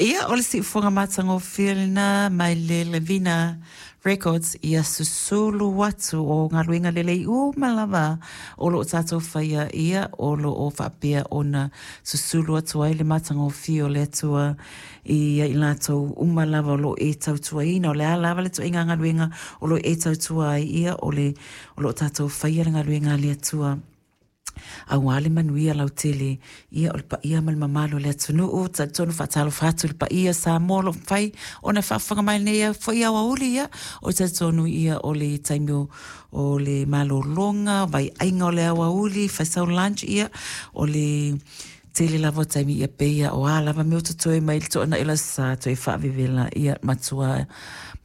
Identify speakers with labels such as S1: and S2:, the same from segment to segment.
S1: Ia, o le siufoga matagofie lena mai le Levina Records, ia susulu atu o galuega lelei uma lava o lo o tatou faia, ia o lo o faapea ona susulu atu ai le matagofie o le Atua i ai latou uma lava o lo o e tautuaina. O le a lava le ituaiga galuega o lo o e tautua ai, ia o le o lo o tatou faia le galuega a le Atua aua le manuia lautele, ia o le paia ma le mamalu o le atunuu. Talitonu faatalofa atu i le paia Samoa o lo o mafai ona faafofoga mai nei foi aoauli, ia o talitonu ia o le taimi o le malologa, vaiaiga o le aoauli, fai sau lunch, ia o le tele lava o taimi ia pei o a lava mea o totoe mai le toanai o le aso sa toe faavevela, ia matua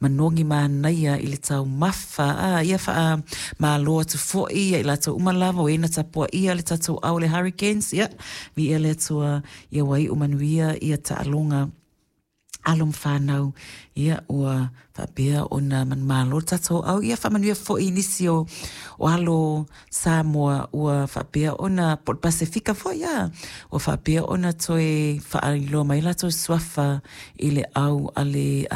S1: manogi manaia i le taumafa. A ia faamalo atu foi ia i latou uma lava o e na tapuaia le tatou au le Hurricanes, ia viia le Atua ia ua iu manuia ia taaloga alo ma fanau, ia ua faapea ona manumalo le tatou au. Ia faamanuia foi i nisi o alo Samoa ua faapea ona, po o le Pasefika foi, a ua faapea ona toe faailoa mai latou suafa i le au a le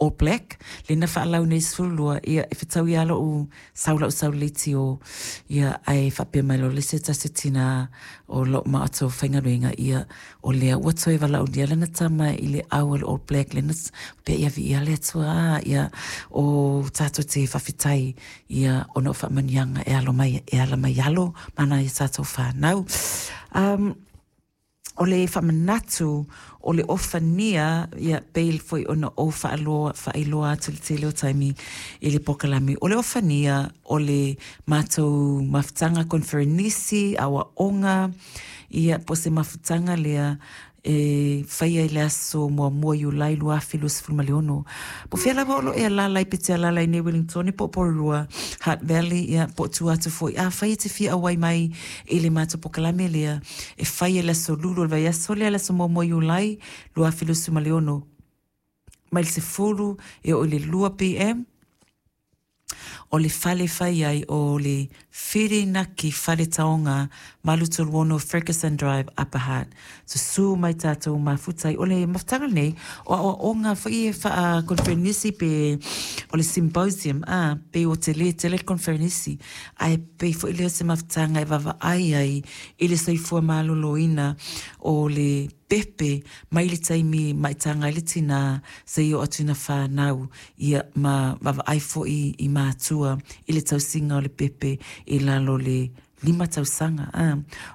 S1: All Black lea na faalau nei 12. Ia e fetaui lava lou sau lau sau leitio, ia ae faapea mai loa le se tasi o tina o lou matou faigaluega, ia o lea ua toe valaaulia lana tama i le au a le All Black lea na pea. Ia viia le Atua, ia o tatou te faafetai ia ona o faamanuiaga e alo mai e ala mai alo ma nai a tatou fanau. O le faamanatu o le ofania, ia pei foi ona ou faaloa faailoa atu i le tele o taimi i le polokalame o le ofania o le matou mafutaga koneferenisi aoaoga, ia po o se mafutaga lea e faia i le aso 1 Iulai 2026. Po o fea lava o lo o e alaala ai, pe te alaala i nei Wellington po o Porirua, Hutt Valley, ia po o tua atu foi. Afai e te fia auai mai i le matou polokalame lea e faia i le aso Lulu o le vaiaso lea, le aso 1 Iulai 2026, mai le 10 e oo i le 2 pm, o le fale fai ai o le Whirinaki Fale Taonga, 836 Ferguson Drive, Upper Hutt. Susū mai tatou mafuta ai. O le mafutaga lenei, o aoaoga foi e faa-conferenisi pe o le symposium, a, pei ua tele tele le conferenisi, ae pei foi lea o se mafutaga e vaavaai ai i le soifua maloloina o le pepe mai le taimi maitaga ai le tinā seia oo atu ina fanau, ia ma vaavaai foi i matua i le tausiga o le pepe i lalo o le 5 tausaga. A,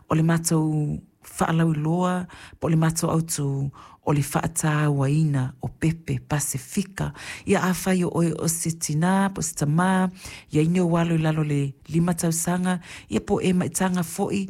S1: o le matou faalauiloa po o le matou autū o le faatauaina o pepe Pasefika. Ia afai o oe o se tinā po o se tamā, i ai ni ou alo i lalo o le 5 tausaga, ia po o e maitaga foi.